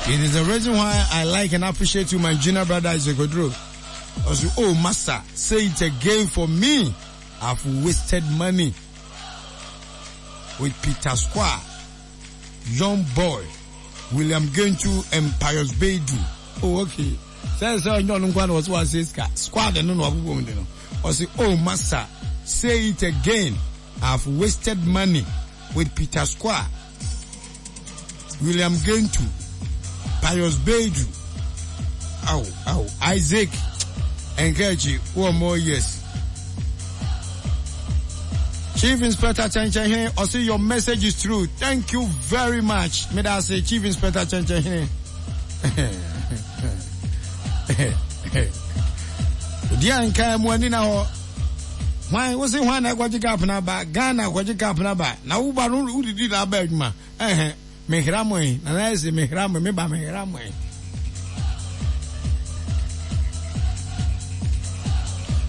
It is the reason why I like and appreciate you, my junior brother Isaac Odro. Also, oh, master, say it again for me. I've wasted money with Peter Square, Young Boy, William Gentu, and Pius Bedu. Oh, okay. Sɛ sɛ ɔnyɛ ɔno nkoa na ɔsɛ wase sika squad no na wabobɔ mu de no ɔsɛ oh master say it again I've wasted money with Peter Square William Gentu Pius Bedu aw aw Isaac Nkachi wɔ more years Chief Inspector Chenchen ɔsɛ your message is true thank you very much medase Chief Inspector Chenchen Odi a nka mu ani na hɔ. Hwan wo se hwan na ɛkɔgye cup na ba Ghana kɔgye cup na ba na wo ba no wodidi na aba adwuma ɛhɛ mehra mo yi na na ɛsɛ mehra mo me ba mehra mo yi.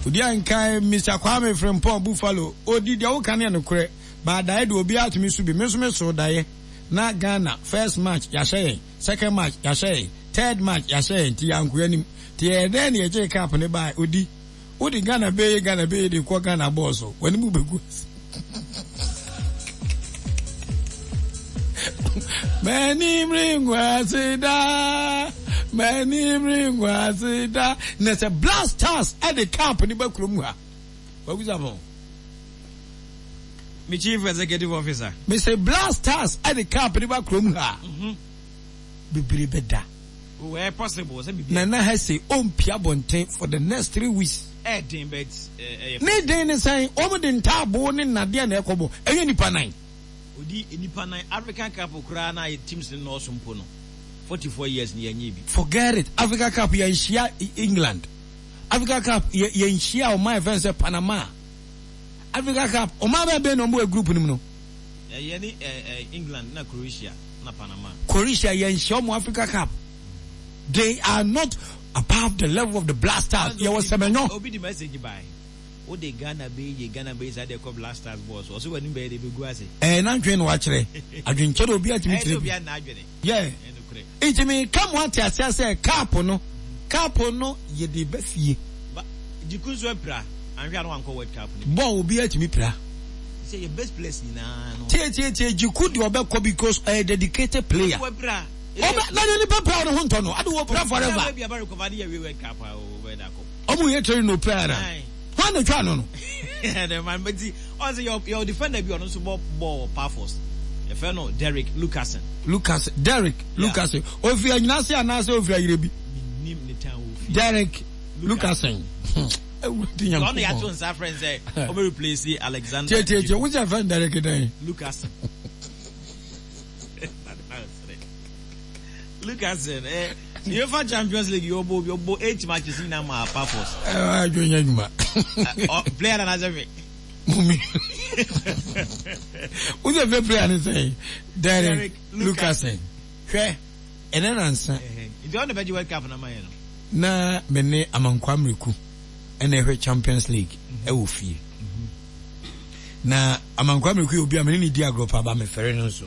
Odi a nka Mr. Kwame Frimpong Buffalo odi deɛ woka ne nokorɛ ba daeɛ de obiara tumi so bi me nso me so daeɛ na Ghana first match yɛahyɛ yɛn Second match yɛahyɛ yɛn, third match yɛahyɛ yɛn nti yɛanko anim. Nti ɛyɛ dɛn na yɛgyee cup no bae? Odi, wode Ghana beye Ghana beye de kɔ Ghana bɔɔl so, w'anim bɛgu ase. M'anim rengu ase da, m'anim rengu ase da. Na sɛ Black Stars de cup no ba kurom ha, Kwaku Sarpong. Me chief executive officer. Me se Black Stars de cup no ba kurom ha a, bebree bɛda. Oh, ɛyɛ possible sɛ biribi. Nana Hesse ɔmpia abɔnten for the next 3 weeks. Ɛyɛ den but ɛyɛ. Ne den ne sɛn? Wɔn de ntaaboo ne nnadeɛ na ɛkɔbɔ, ɛnyɛ nipa nan. Odi nipa nan, African Cup koraa na teams no nnɔɔso mpo no, 44 years ni yɛnyɛɛ bi. Forget it, Africa Cup yɛnhyia England, Africa Cup yɛnhyia ɔman a yɛfrɛ no sɛ Panama. Africa Cup, ɔman bɛn bɛn na wɔn wɔ group no mu no? Yɛ ne England na Croatia na Panama. Croatia yɛn nhyɛ wɔn Africa Cup. They are not above the level of the Black Stars. Yɛ wɔ sɛmɛnyɔ. Obi di message by. O de Ghana bɛ yie Ghana bɛ yie saa de ɛkɔ Black Stars bɔɔl so. Ɔsɛ w'anim bɛyɛ de bɛ gu ase. Ɛɛ n'adwene na wakyerɛ. Adwenkyerɛ obi atumi kyerɛ bi. Ɛyɛ sɛ obi a n'adwene. Yeah. Nti me ka mo ate aseɛ sɛ cup no cup no yɛde ba fie. Ba Djiku nso apira anhwɛ a na wankɔ world cup no bi. Bɔɔl obiara tumi pira. Sɛ yɛ best players nyinaa no. Tie tie tie Djiku deɛ ɔbɛkɔ because ɔyɛ dedicated player. Wapira. Ɔbɛ na ne nipa pira ne ho ntɔ no ade wɔ pira forever. Ɔbɛ bi aba recover ne yɛ wie world cup a ɔbɛ da kɔ. Ɔmo yɛ training na opira na. Hwan na otwa no no? Ɛdɛ man bɛ ti ɔn sɛ yɛ yɛ defender bi ɔno nso bɔ bɔɔl wɔ Paphos yɛfrɛ no Derrick Luckassen. Lucas Derrick Luckassen ofiri Anyinase anaasɛ ofiri Ayerɛbi? Menim ne town ofi. Derrick Luckassen. Awurade Nyankopɔn. Ɔno yɛato nsa frɛ no sɛ ɔbɛ replace Alexander. Tie tie tie wo sɛ fɛn Derrick dɛn? Luckassen. Luckassen eh. Uefa Champions League yɛ ɔbɔ obi ɔbɔ eight matches nyinaa ma Paphos. Ɛɛ adwo nyɛ adwuma. Player na n'asɛ hwɛ. Mumi. Wosɛ fɛ player ne sɛn? Derrick Luckassen. Hwɛ ɛnɛ nansa. Nti ɔno na bɛgye World Cup na ma yɛ no. Na me ne Amankwa Mreku ɛna ɛhwɛ Champions League ɛwɔ fie. Na Amankwa Mreku yɛ obi a me ne ne di agorɔ paa ba mefɛre no nso.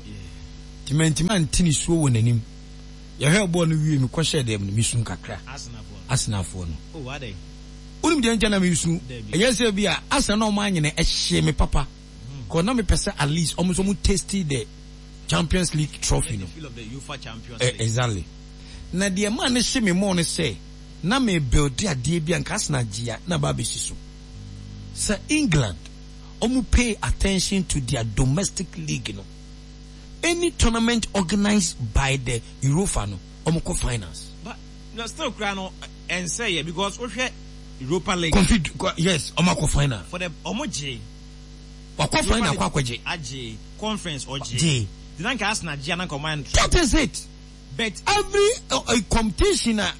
Nti mantumi ante ne suo wɔ n'anim. Yɛhwɛɛ bɔɔl no wiei mekɔhyɛɛ dɛm no, misuu kakra. Arsenalfoɔ no. Wonim deɛ nti a na meresu? Ɛnyɛ sɛ bi a Arsenal na wɔn anyene ɛhyee me papa. Kɔ na mepɛ sɛ at least wɔn nso wɔn tasty the Champions League trophy no. Eh, exactly. Na deɛ ɛmaa no hye me more no sɛ na me build adeɛ bi a nka Arsenal gye a na aba abɛsi so. Sɛ England wɔn pay attention to their domestic league no. Any tournament organised by the Europa no ɔmo kɔ finals. But na still koraa no ɛnsɛ yɛ because wohwɛ Europa League. Kofi yes ɔmo akɔ final. For the ɔmo gye. Wakɔ final akɔ akɔgye. Agye conference ɔgye. Gye. Nti na nka Arsenal gye a na nka ɔmo ayɛ no. That is it. But. Every uh, competition a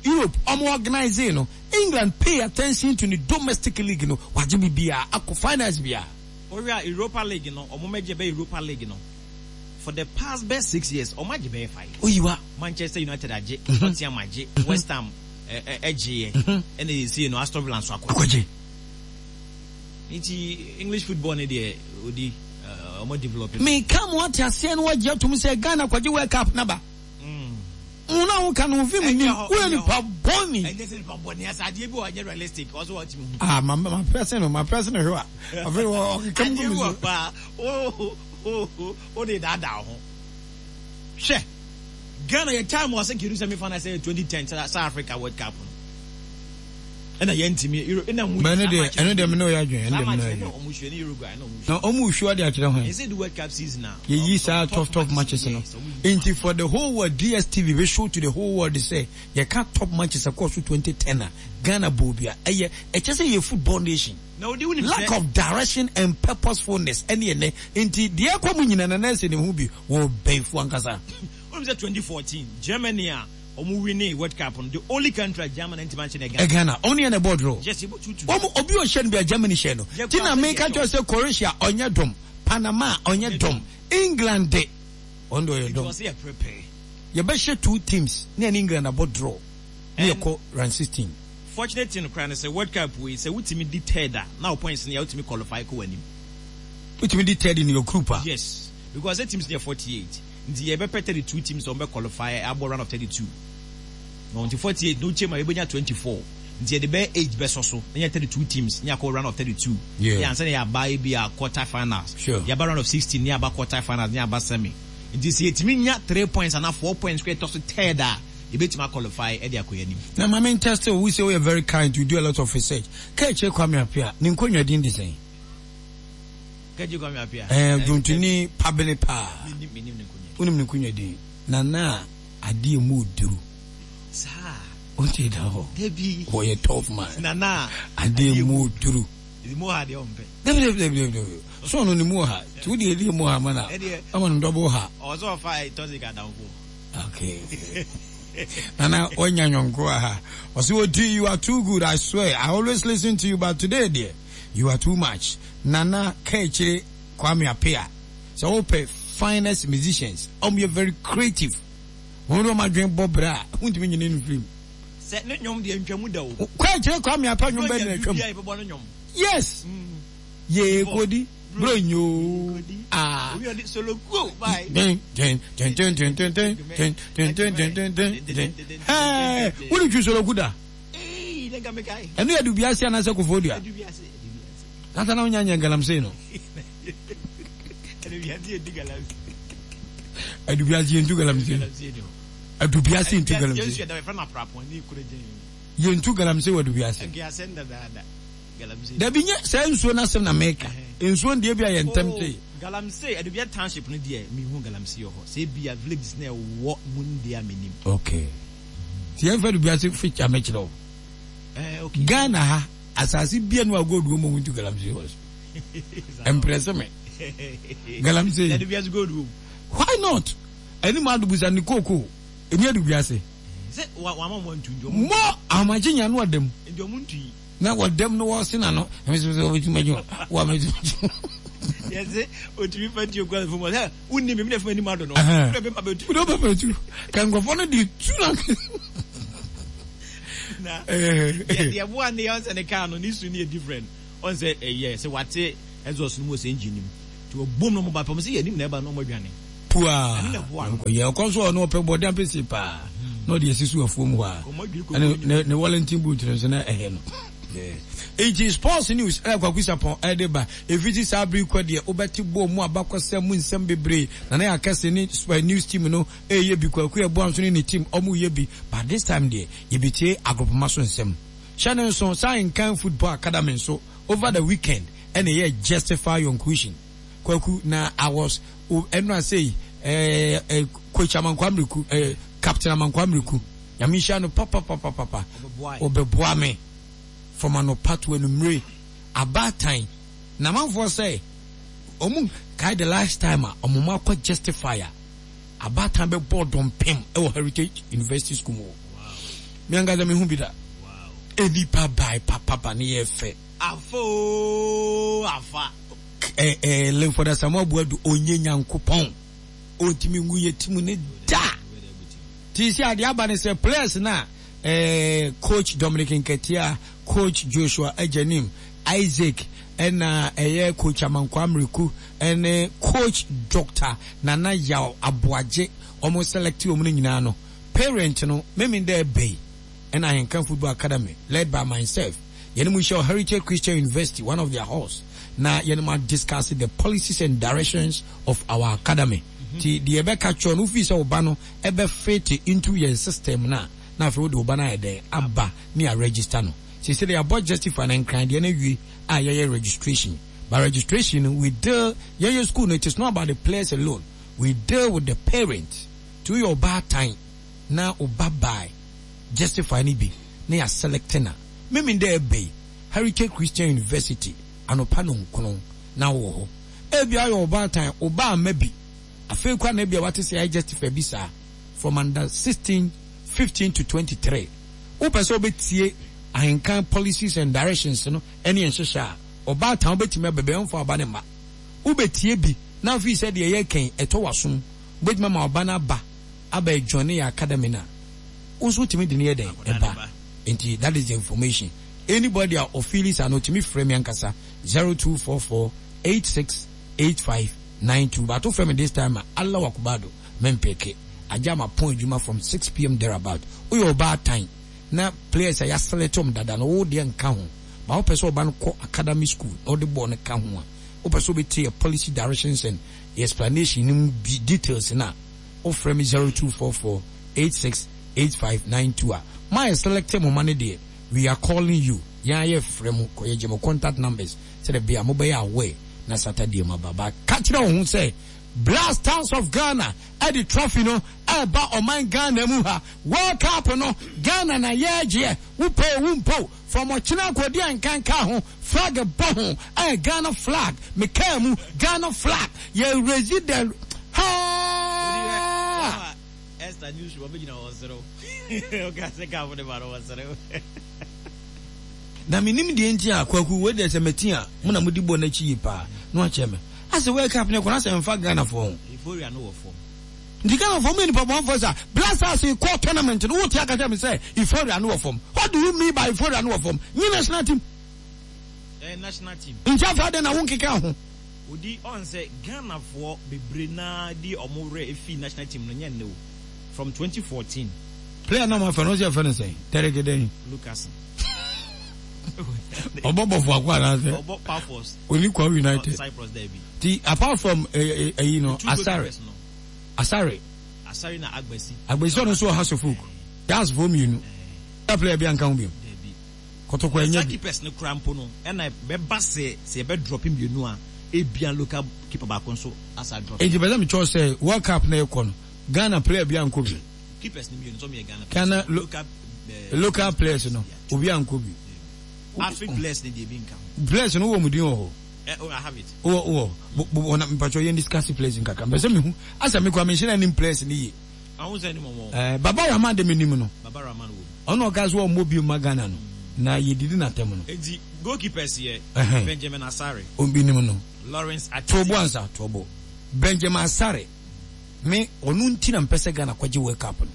Europe ɔmo organise no England pay attention to ne domestic league no wagye biribiara akɔ finals biara. Wohwɛ a Europa League no ɔmo mɛgye bɛ Europa League no for the past bɛ 6 years ɔmo agye bɛyɛ five. Oyiwa. Manchester United agye, Tottenham agye, West Ham ɛgyeeɛ ɛna yɛsie no Aston Villa nso akɔ. Akɔgye. Nti English football ne deɛ odi ɔmo develop. Meka mo ate aseɛ no wagye atom sɛ Ghana kɔgye World Cup naba. Wo na wo ka no wo fi mu nim wo yɛ nipa bɔne. Ɛnyɛ sɛ nipa bɔne asa adeɛ bi wɔ ɛnyɛ realistic ɔsɛ wɔ timi hu. Ah ma ma press no ma press no hwɛ a afei wɔ ɔkeka mu gu mi so. Adeɛ bi wɔ paa o o o de daadaa ho. Hwɛ Ghana yɛ time wɔ sɛ nkedu semi final sɛ 2010 South Africa World Cup no. Ɛna yɛn ntumi Euro ɛna mu. Bɛn ne deɛ ɛno deɛ me ne ɔyɛ adwene ɛno deɛ me ne ɔyɛ adwene. Ɔmo hwɛ ne Uruguay na ɔmo hwɛ. Na ɔmo hwɛ ɔde akyerɛ hwan. Ɛsɛ di World Cup season a. Yɛyi saa tough tough matches no. Nti for the whole world DSTV bɛ show to the whole world sɛ yɛka top matches ɛkɔɔ so 2010 a Ghana bɔɔ bi a ɛyɛ ɛkyɛ sɛ yɛ football nation. Lack of direction and purposefulness ɛne ɛnɛ nti deɛ ɛkɔ mu nyina Nana ɛsɛ ne ho bi wɔ bɛyifoɔ ankasa. Wonim sɛ 2014 Germany a Ɔmo winee world cup no the only country a Germany antumi ankyɛ no yɛ Ghana. Ghana ɔmo ne yɛn na ɛbɔɔ draw. Yes yɛbɔ 2-2. Ɔmo obi ɔhyɛ no bia Germany hyɛ no. Ti na meka kyerɛ sɛ Croatia ɔnyɛ dɔm, Panama ɔnyɛ dɔm, England de ɔno de ɔyɛ dɔm. Nti ɔsɛ yɛ prepare. Yɛbɛhyɛ two teams ne yɛne England abɔ draw ne yɛkɔ round 16. Fortunate thing koraa ne sɛ world cup wei sɛ wotumi di third a na wo points no yɛ wotumi qualify kɔ w'anim. Wotumi di third in your group a. Yes because sɛ teams no yɛ 48. Nti yɛbɛpɛ 32 teams a wɔbɛ qualify abɔ round of 32 no nti 48 no wokyɛ mu a yɛbɛnya 24 nti yɛde bɛyɛ 8 bɛsɔ so na yɛ 32 teams ne yɛakɔ round of 32 yeah. ne ansa na yɛaba ebi a quarter finals sure. yɛaba round of 16 ne yɛaba quarter finals ne yɛaba semi nti sɛ yɛtumi nya 3 points anaa 4 points kora ɛtɔ so third a yɛbɛtumi aqualify ɛde akɔ yɛn anim. Na ma me ntɛste wo, wo sɛ woyɛ very kind, you do a lot of research. Kaakyire Kwame Appiah, ne nkonnwa din de sɛn? Kagye Kwame Appiah. Ɛɛ dwontoni pabene paa. Menim menim ne nkonya. Wonim ne nkonya din. Nana a adeɛ mu duru. Saa. Wonte da hɔ. Dabi. Wɔyɛ tough man. Nana adeɛ mu duru. Ɛdi mu ha deɛ ɔmpɛ. Dabi dabi dabi dabi dabi. So ɔno ne mu ha. Ti wo deɛ ɛdi mu ha ma na. Ama no double ha. Ɔsɛ ɔfa toxic adamfo. Okay. Nana wanya nyɔnko aha. Ɔsɛ odi you are too good I swear I always listen to you but today deɛ. You are too much Nana Kaakyire Kwame Appiah sɛ wo pɛ finest musicians ɔmo yɛ very creative wɔn de wɔn adwene bɔ bra a wontumi nyini no mfiri mu. Sɛ ne nwom deɛ ntwa mu da o. Kaakyire Kwame Appiah nwom bɛn na atwa mu? Yes yee kodi bro nyoo ah. Den den den den den den den den den den den den den den Hey wone twi soloku da? Ɛno yɛ Dubiase anaasɛ Koforidua? Nasa na wonya nyɛ galamsey no. Adubiase yɛntu galamsey. Adubiase ntu galamsey. Yɛntu galamsey wɔ Adubiase. Dabi nyɛ saa nsuo no asɛm na meka. Nsuo no deɛ bi a yɛ ntɛm te. Oh, galamsey, Adubia township no deɛ mehu galamsey wɔ hɔ. Sɛ ebia villages na ɛwɔ mu no deɛ a menim. Okay. Nti yɛmfa Dubiase feature mɛkyerɛ wo. Eh, okay. Ghana ha, asase bia no a gold wɔ mu ɔmo ntu galamsey wɔ so. Ɛmprɛse me. Galamsey. Na Dubiase gold wɔ mu. Why not? Ɛne mu adubusa ne kooko. Ɛni Adubiase. Sɛ wa wama ɔmo antu nti ɔmo. Mo ahomakye nya no ɔdam. Nti ɔmo ntu yi. Na wɔdam no wɔse na no. Ɛmi sɛ sɛ wɔbɛtumi agye wɔ amɛtumi. Yɛse otumi fa tuo kura fam sɛ wonni mi mi na fam anim ado no. Wode bɛma bɛtu. Wode bɛma bɛtu. Ka nkurɔfoɔ no de tu na. Na deɛ boa ne yɛ ɔnsɛ ne kaa no ne su ne yɛ different. Ɔnsɛ ɛyɛ sɛ wate exhaust no mu ɔsɛ engine no mu. Nti ɔbom no ɔmo ba pɛ ɔmo sɛ yɛ anim na ɛba no ɔmo adwane. Pua. Ɛno na ɛboa no. Yɛ ɔkɔ nso ɔno ɔpɛ bɔde ampesi paa. Na ɔde asi so afuom hɔ a. Ɛne ne ne Wellington boot no nso na ɛhɛ no. Enti sports news ɛna Kwaku Sapɔn ɛde ba. Efiti saa bere kɔ deɛ wobɛte bɔɔl mu abakɔsɛm mu nsɛm bebree. Nana Yaa Kɛse ne news team no ɛyɛ bi. Kwaku Yeboah nso ne ne team ɔmo yɛ bi. But this time deɛ yɛbɛtie agropoma so nsɛm. Hyɛ no nso saa Nkan Football Academy nso over the weekend ɛna ɛyɛ Justify Your Inclusion. Kwaku na I was ɛno asei eh, eh, Coach Amankwa Miriku eh, Captain Amankwa Miriku. Nyame nhyira no papapapapa. Ɔbɛboa me from anɔpa to anumere. Abaatan na amanfoɔ sɛ ɔmo kae the last time a ɔmo ma akɔ justify a abaatan bɛbɔ dɔmpem ɛwɔ Heritage University School mu hɔ. Me ankasa me hu bi da. Enipa bae papapa ne yɛ fɛ. Afa oo afa. Eh eh Linford Asamoah Boadu ɔnyɛ Nyankopɔn. Ɔntumi ngu yɛ team ne da. Ti sɛ adeɛ aba ne sɛ players na eh, coach Dominic Nketia, coach Joshua Agyanim, Isaac ɛna ɛyɛ coach Amankwa Mreku ɛne coach Doctor Nana Yaw Aboagye wɔn select wɔn no nyinaa no. Parent no, Memenda ɛbɛ yi ɛna Ahenkan Football Academy led by myself yɛne mo hyia wɔ Heritage Christian University one of their halls na yɛne mo adiscuss the policies and directions of our academy. Nti deɛ yɛbɛka kyerɛ no wofii sɛ wo ba no ɛbɛ fit into yɛn system no a na afei wode wo ba no ayɛ dɛn aba ne a register no. Seesei deɛ yɛabɔ justify no Nkran deɛ no awie a yɛyɛ registration. But registration no we deal yɛyɛ school no it is not about the players alone we deal with the parents. Nti woyɛ ɔbaatan na wo ba by justify no bi na yɛ select no a memen dɛ ɛbɛ yi Heritage Christian University anɔpa nonkono na wowɔ hɔ. Ebia woyɛ ɔbaatan wo ba amma bi afei koraa na ebia wate sɛ yɛayɛ justify bi saa from under 16, 15 to 23. Wopɛ sɛ wobɛtie Ahenkan policies and directions no ne yɛn nhyehyɛ a, ɔbaatan wobɛtumi aba bi a ɔmfa wo ba no mma. Wobɛtie bi na afei sɛ deɛ yɛreka yi ɛtɔ w'asom wobɛtumi ama wo ba no aba aba adjoine yɛn academy no a, wo nso wotumi de no yɛ dɛn? Ɛba. Nti that is the information. Anybody a ɔfeeli saa no ɔtumi frɛ me ankasa 0244 86 85 92 but wofrɛ me this time a Allah Wakubado mempeke. Agya mapɔn adwuma from 6 pm thereabout. Woyɛ ɔbaatan na players a yɛaselect wɔn dada no wo deɛ nka ho but wopɛ sɛ ɔba no kɔ academy school na wode bɔɔl no ka ho a wopɛ sɛ wobɛtie yɛ policy directions and yɛ explanation no mu details no a wofrɛ me 0244 86 8592 a mo a yɛselect mo ma no deɛ we are calling you yɛn ara yɛfrɛ mo kɔ yɛgye mo contact numbers sɛdeɛ ɛbɛyɛ a mobɛyɛ aware na Saturday mo aba but ka kyerɛ wo ho sɛ Black Stars of Ghana ɛde trophy no ɛreba ɔman Ghana mu ha World Cup no Ghana na yɛregyeɛ wo pɛ o wo mpɛ o from ɔkyena akɔdi a nka nka ho flag bɔ ho ɛyɛ Ghana flag me kaa mu Ghana flag yɛ raise the haa. Esther news room ɔbɛgyina hɔ ɔserew ɔka sɛ kaa fo de ba no ɔserew. Na menim deɛ nti a Kwaku wei deɛ sɛ mati a mo na modi bɔ no akyi yie paa na wakyerɛ me asɛ World Cup no ɛkɔ no asɛ ɛmfa Ghanafoɔ ho. Euphoria no wɔ fam. Nti Ghanafoɔ moyɛ nipa bɔnfoɔ sa Black Stars kɔ tournament no wote aka kyerɛ me sɛ euphoria no wɔ fam what do you mean by euphoria no wɔ fam nye national team. Ɛyɛ national team. Nti afei adɛn na wonkeka ho. Odi ɔn sɛ Ghanafoɔ bebree naa de ɔmo werɛ fii national team no nyɛ nnɛ o from 2014. Player no a moafrɛ no wose yɛfrɛ no sɛn? Derek dɛn? Lukasen. Ɔbɔ Bofoakwa anaasɛ? Ɔbɔ Paphos. Oni Kwahu United. Cyprus daabi. Ti apart from ɛyi no Asare. Asare. Asare na Agbasi. Agbasi ɔno nso wɔ Hasselhoff. Gas foɔ mmienu. That player bi anka ho bio. Dabi. Kɔtɔkɔ ɛnyɛ bi. Saa keepers no koraa mpo no ɛna ɛbɛba sɛ sɛ yɛbɛ drop mmienu a ebia local keeper baako nso asa drop. Enti pɛ sɛ mekyerɛ sɛ World Cup na ɛkɔ no Ghana player bi ankɔ bi. Keepers no mmienu nso yɛ Ghana players. Ghana local local players no obi ankɔ bi. African players no deɛ ebi nka ho. Players no wɔ mu din wɔ hɔ. Eh, oh, I have it. Wɔ wɔ bo na mpatwɔ yɛn discuss players nkakra. Mpɛ sɛ mehu asɛ me kura menhyɛ na nim players no yie. Ahun sɛ nim wɔn. Eh, Baba Rahman de menim no. Baba Rahman wɔ mu. Ɔno ɔka sɛ ɔmmɔ bio ma Ghana no na yɛdidi n'atɛm no. Enti goalkeepers yɛ Benjamin Asare. Obi nim no. Lawrence Atizigi. Tobo ansa tobo. Benjamin Asare me ɔno nti na mpɛ sɛ Ghana kɔgye World Cup no.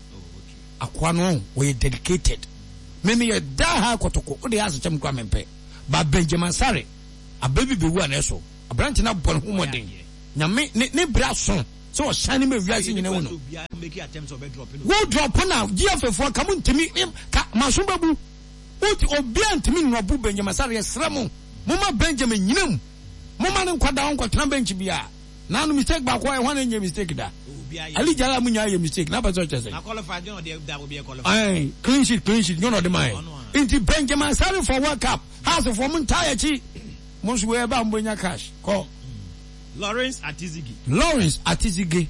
Akoa no ɔyɛ dedicated. Me meyɛ die hard kɔtɔkɔ wode yɛ asekyɛm koraa mempɛ. But Benjamin Asare abɛ bi bɛwu a na ɛso. Aberante no abɔ ne ho mmɔden. Nyame ne ne berɛ aso sɛ ɔshine ma wiase nyina hu no. Wo drop na GFA foɔ ka mo ntumi ka maso bɛbu. Wo obia ntumi nnɔbo Benjamin Asare yɛsrɛ mo moma Benjamin nyina mu. Moma no nkɔda hɔ nkɔtena bench bia. Na no mistake baako ayɛ hwan na ɛnyɛ mistake da. Ali Jala mu nyaa yɛ mistake na pɛ sɛ ɔkyɛ sɛ. Ɛn clean sheet clean sheet nyɛ na ɔde ma yɛ. Nti Benjamin Asare for World Cup Hearts foɔ mo ntaa yɛ akyi. Mo nso wei ɛba a mo bɛnya cash kɔ. Lawrence Atizigi. Lawrence Atizige.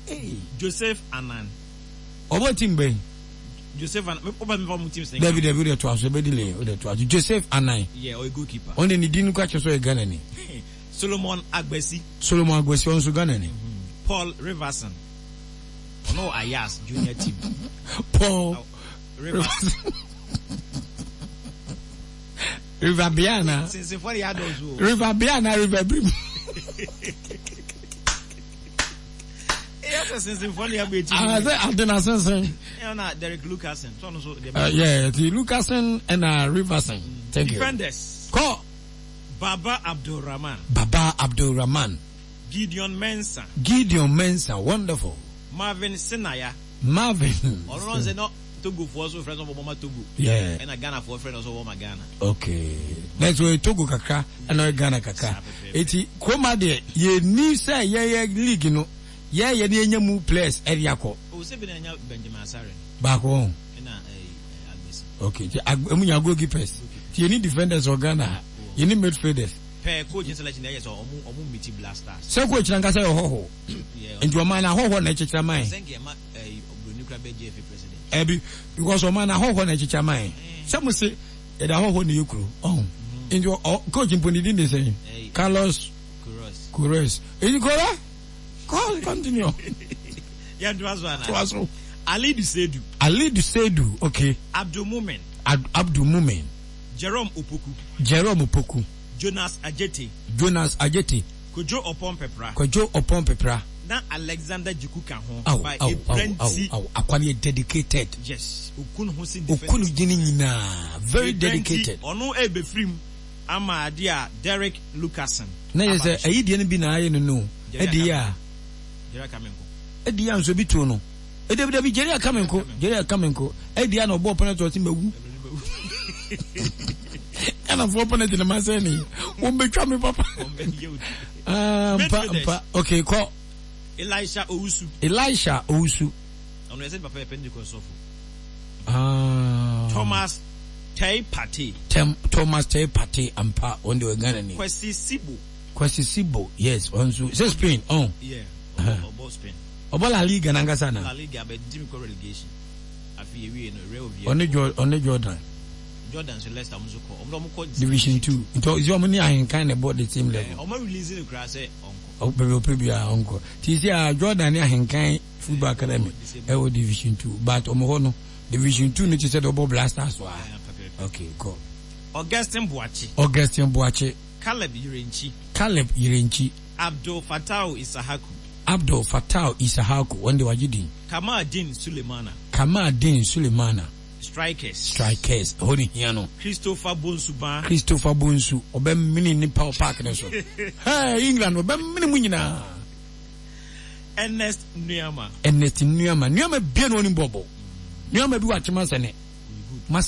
Hey. Joseph Anan. Ɔbɔ team bɛn? Joseph Anan. Wopɛ mefa mu teams ne. Dabi dabi wode to aso ɛbɛ delay wode to aso. Joseph Anan. Yeah, ɔyɛ goalkeeper. Ɔno de ne din kora kyerɛ sɛ ɔyɛ Ghana ni. Solomon Agbesi. Solomon Agbesi ɔno nso Ghana ni. Paul Riverson. Ɔno wɔ Ayas junior team. Paul oh, Riverson. River Bia na. Sinsinfoɔ de yɛ adɔɔso o. River Bia na River Brim. Eyɛ sɛ sinsinfoɔ de abɔ eti. Ah, sɛ ade na sinsin. Ɛyɛ na Derek Lucasen. Sɛ ɔno nso deɛ. Yeah, ti Lucasen ɛna Riverson. Thank you. Defenders. Kɔ. Baba Abdulrahman. Baba Abdulrahman. Gideon Mensah. Gideon Mensah, wonderful. Marvin Senaya. Marvin. Ɔno no sɛ no Togo foɔ so frɛ no ɔbɔ ma Togo. Yeah. Ɛna Ghana foɔ frɛ no so ɔbɔ ma Ghana. Okay. Na ɛsɛ ɔyɛ Togo kakra ɛna ɔyɛ Ghana kakra. Eti kuroma deɛ yɛni sɛ yɛyɛ league no yɛyɛ ne yɛnya mu players ɛde akɔ. O sɛ bi na nya Benjamin Asare. Baako wɔn. Ɛna ɛɛ Agbesi. Okay. Ti emu nya goalkeepers. Ti yɛni defenders wɔ Ghana ha. Yɛni midfielders. Pɛ coach selection ɛyɛ sɛ ɔmo ɔmo meet Black Stars. Sɛ coach nankasa yɛ ɔhɔho. Nti ɔman no ahɔhoɔ na ɛkyekyere man. Ɛbi because ɔman no ahɔhoɔ na ɛkyekyere man. Sɛ mo se yɛde ahɔhoɔ na ɛyɛ kuro ɔho. Nti ɔ coach mpo ne din de sɛn? Carlos Queiroz. Nti kora kɔ continue. Yɛn to aso ana? To aso. Alidu Seidu. Alidu Seidu okay. Abdul Mumin. Abdul Mumin. Jerome Opoku. Jerome Opoku. Jonas Adjetey. Jonas Adjetey. Kojo Oppong Pepra. Kwadwo Oppong Pepra. Na Alexander Djiku ka ho. Aw, By aw, aw, Ebra aw, nti. aw, akwa no yɛ dedicated. Yes, oku ne ho sen Oku defenders ne gyini nyinaa. nyinaa, very Ebra nti, dedicated. ɔno rebɛfiri mu ama adeɛ a Derrick Luckassen Na yɛ aba sɛ abɛhyɛ ayi deɛ no bi na ayɛ no no, Jerry ɛdi yɛ Akame. a. Jerry Akame nko. Ɛdi yɛ a nso bi too no. Dabi dabi Jerry Akame nko, Jerry Akame nko. Ɛdi yɛ a na ɔbɔɔ penalty ɔse mawu. Ghanafoɔ penalty na masɛe ne. Wɔn bɛtwa me papa. Ah, mpa mpa. Okay, kɔ. Elisha Owusu. Elisha Owusu. Ɔno yɛ sɛ papa yɛ Pentecost sɔfo. Ah. Thomas Tei Partey. Tem, Thomas Teye Partey ampa wɔn de ɔyɛ Ghana ni. Kwesi Sibo. Kwesi Sibo yes ɔno nso sɛ Spain ɔn. Yeah, ɔbɔ Spain. Ɔbɔ La Liga nankasa na. La Liga bɛ di mi kɔ relegation. Afi ewie no Real Oviedo. Ɔne Jor ɔne Jordan. Jordan nso Leicester ɔmo nso kɔ ɔmo de ɔmo kɔ. Division 2 nti ɔsi ɔmo ne ahenkan na ɛbɔ the same level. Ɔmo release no koraa sɛ ɔnkɔ. Baabi ɔpɛ biara ɔnkɔ. Ti sɛ a Jordan ne ahenkan football academy ɛwɔ division 2 but ɔmo hɔ no division 2 no te sɛ de ɔbɔ Black Stars wɔ ha. Okay kɔ. Augustine Boakye. Augustine Boakye. Caleb Yirenkyi. Caleb Yirenkyi. Abdul Fatau Issahaku. Abdul Fatau Issahaku, wɔn de wagye din. Kamal Deen Sulemana. Kamal Deen Sulemana. Strikers. Strikers, ɛhɔ ne hia no. Christopher Bonsu Baah. Christopher Bonsu, ɔbɛmene nnipa wɔ park no so. Hey, England, ɔbɛmene mu nyinaa. Ernest Nuamah. Ernest Nuamah. Nuamah bia na ɔnim bɔɔlbɔ. Nuamah bi wɔ akyem asɛne.